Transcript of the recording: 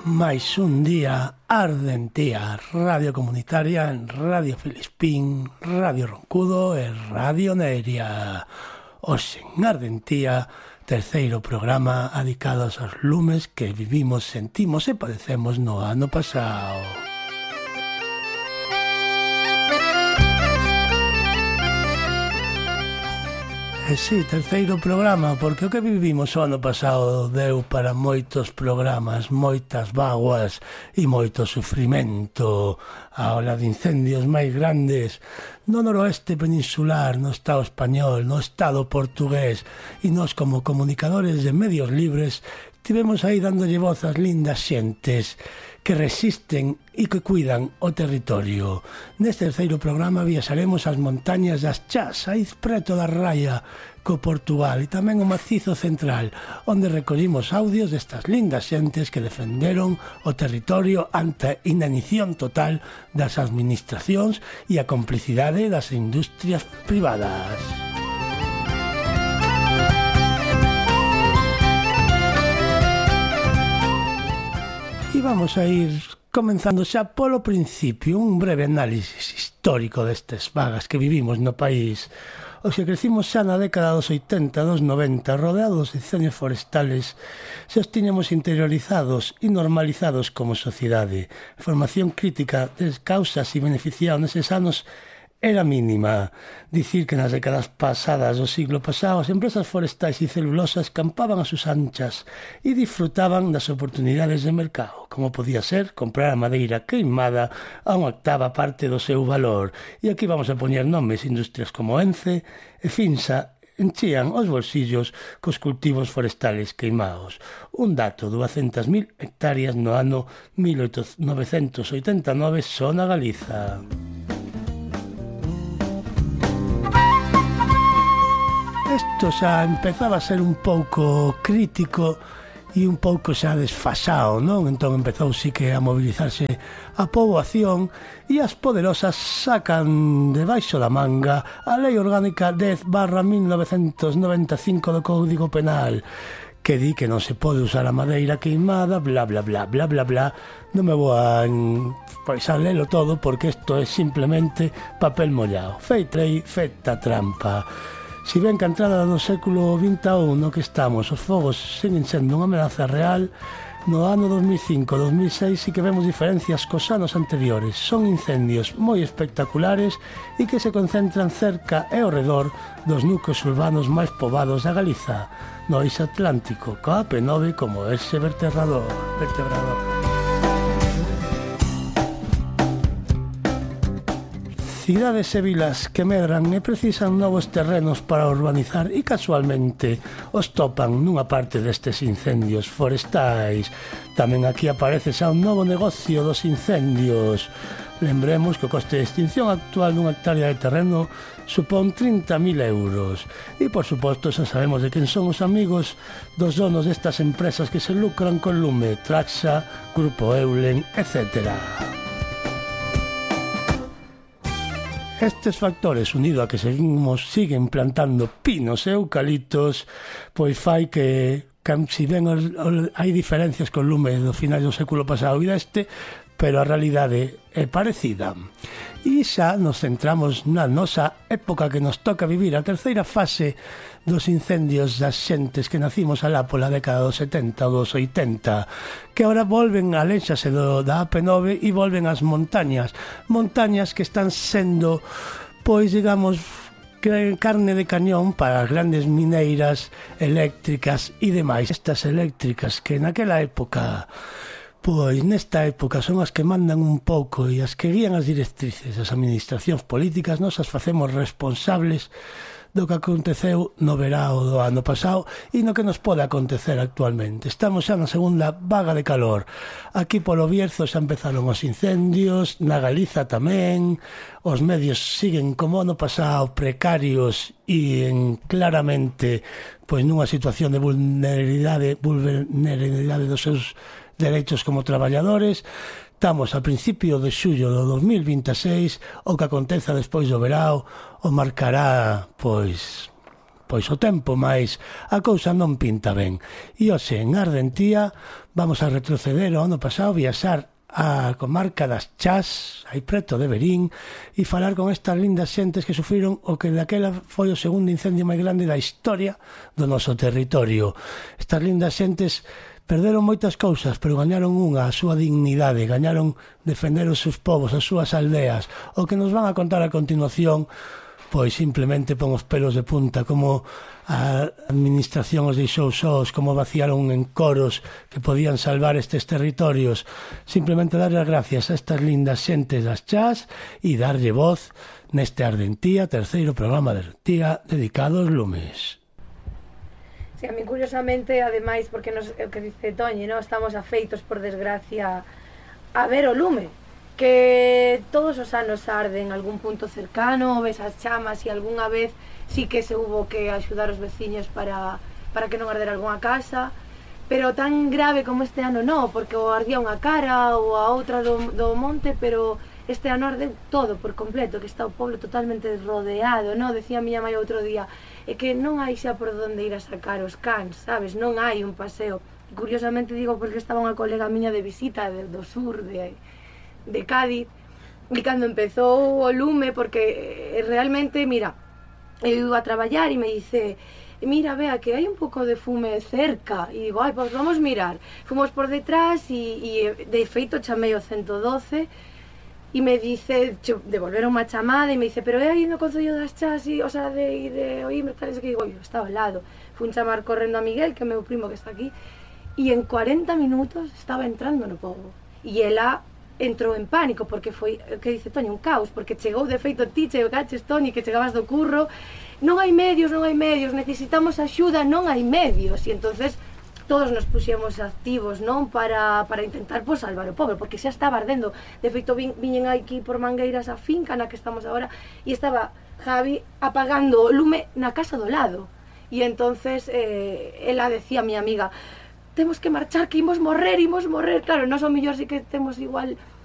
máis un día Ardentía, radio comunitaria en Radio Filispín, Radio Roncudo e Radio Neria. Hoxe en Ardentía, terceiro programa dedicado aos lumes que vivimos, sentimos e padecemos no ano pasado. Sí, terceiro programa, porque o que vivimos o ano pasado deu para moitos programas, moitas vaguas e moito sufrimento. A ola de incendios máis grandes no noroeste peninsular, no Estado español, no Estado portugués, e nós como comunicadores de medios libres tivemos aí dándolle voz ás lindas xentes que resisten e que cuidan o territorio. Neste terceiro programa viaxaremos ás montañas das Chás, aí preto da raya co Portugal, e tamén o macizo central, onde recollimos audios destas lindas xentes que defenderon o territorio ante a inanición total das administracións e a complicidade das industrias privadas. E vamos a ir comenzando xa polo principio, un breve análisis histórico destes vagas que vivimos no país. Os que crecimos xa na década dos 80, dos 90, rodeados de incendios forestales, xa os tiñamos interiorizados e normalizados como sociedade. A formación crítica das causas e beneficiados neses anos era mínima. Dicir que nas décadas pasadas do siglo pasado as empresas forestais e celulosas campaban a sus anchas e disfrutaban das oportunidades de mercado, como podía ser comprar a madeira queimada a unha octava parte do seu valor. E aquí vamos a poñer nomes: industrias como Ence e Finsa enchían os bolsillos cos cultivos forestales queimados. Un dato: 200.000 hectáreas no ano 1989 só na Galiza. Isto xa empezaba a ser un pouco crítico e un pouco xa desfasado, non? Entón empezou sí que a mobilizarse a poboación e as poderosas sacan debaixo da manga a Lei Orgánica 10/1995 do Código Penal, que di que non se pode usar a madeira queimada, bla, bla, bla, bla, bla, bla. Non me vou a lelo todo porque isto é simplemente papel mollado. Feitrei, feta trampa. Si ben que a entrada do século XXI no que estamos, os fogos seguen sendo unha ameaza real, no ano 2005-2006 sí que vemos diferencias cos anos anteriores. Son incendios moi espectaculares e que se concentran cerca e ao redor dos núcleos urbanos máis poboados da Galiza, no eixo atlántico, coa P9 como ese vertebrador. Cidades e vilas que medran e precisan novos terrenos para urbanizar e casualmente os topan nunha parte destes incendios forestais. Tamén aquí aparece xa un novo negocio dos incendios. Lembremos que o coste de extinción actual dunha hectárea de terreno supón 30.000 euros. E, por suposto, xa sabemos de quen son os amigos dos donos destas empresas que se lucran con lume: Traxa, Grupo Eulen, etc. Estes factores, unido a que siguen plantando pinos e eucaliptos, pois fai que si ben hai diferencias con lume do final do século pasado e deste, pero a realidade é parecida. E xa nos centramos na nosa época que nos toca vivir, a terceira fase dos incendios das xentes que nacimos alá pola década dos 70 ou dos 80, que agora volven a léxase da AP9 e volven ás montañas que están sendo, pois digamos, carne de cañón para as grandes mineiras eléctricas e demais. Estas eléctricas que naquela época, pois nesta época son as que mandan un pouco e as que guían as directrices das administracións políticas. Nos as facemos responsables do que aconteceu no verao do ano pasado e no que nos pode acontecer actualmente. Estamos xa na segunda vaga de calor. Aquí polo Bierzo xa empezaron os incendios, na Galiza tamén. Os medios siguen como ano pasado precarios e claramente pois nunha situación de vulnerabilidade dos seus dereitos como traballadores. Estamos a principio de xullo do 2026, o que aconteza despois do verao o marcará, pois, pois o tempo, mais a cousa non pinta ben. E hoxe, en Ardentía, vamos a retroceder ao ano pasado, viaxar a comarca das Chás, aí preto de Verín, e falar con estas lindas xentes que sufriron o que daquela foi o segundo incendio máis grande da historia do noso territorio. Estas lindas xentes perderon moitas cousas, pero gañaron unha, a súa dignidade, gañaron defender os seus povos, as súas aldeas. O que nos van a contar a continuación, pois simplemente pon os pelos de punta, como a administración os deixou sós, como vaciaron en coros que podían salvar estes territorios. Simplemente darle as gracias a estas lindas xentes das Chás e darlle voz neste Ardentía, terceiro programa de Ardentía dedicado aos lumes. Sí, a mí curiosamente, ademais, porque o que dice Toñi, ¿no? Estamos afeitos, por desgracia, a ver o lume, que todos os anos arde en algún punto cercano, ves as chamas e algunha vez sí que se hubo que axudar os veciños para que non ardera algunha casa, pero tan grave como este ano non, porque o ardía unha cara ou a outra do monte, pero este ano arde todo por completo, que está o pueblo totalmente rodeado, non? Decía a miña mãe outro día, é que non hai xa por onde ir a sacar os cans, sabes? Non hai un paseo. E curiosamente digo porque estaba unha colega miña de visita do sur de Cádiz, e cando empezou o lume, porque realmente, mira, eu iba a traballar e me dice, mira, vea, que hai un pouco de fume cerca, e digo, ai, pois vamos mirar. Fomos por detrás e de feito chamei o 112, e me dice, devolveron unha chamada e me dice, pero é aí no Concello das Chás, o sea, de Oímbre, tal, que digo, estaba ao lado. Fui chamar correndo a Miguel, que é meu primo que está aquí, e en 40 minutos estaba entrando no pobo. E ela entrou en pánico, porque foi, que dice Toñi, un caos, porque chegou de feito ti, chegaches, Toñi, que chegabas do curro, non hai medios, necesitamos axuda, non hai medios, e entonces todos nos puxemos activos, non, para intentar salvar o pobo, porque xa estaba ardendo. De feito, viñen aquí por Mangueiras a finca na que estamos agora, e estaba Javi apagando o lume na casa do lado. E entonces ela decía a miña amiga, temos que marchar, que imos morrer. Claro, nós ao mellor sí que temos igual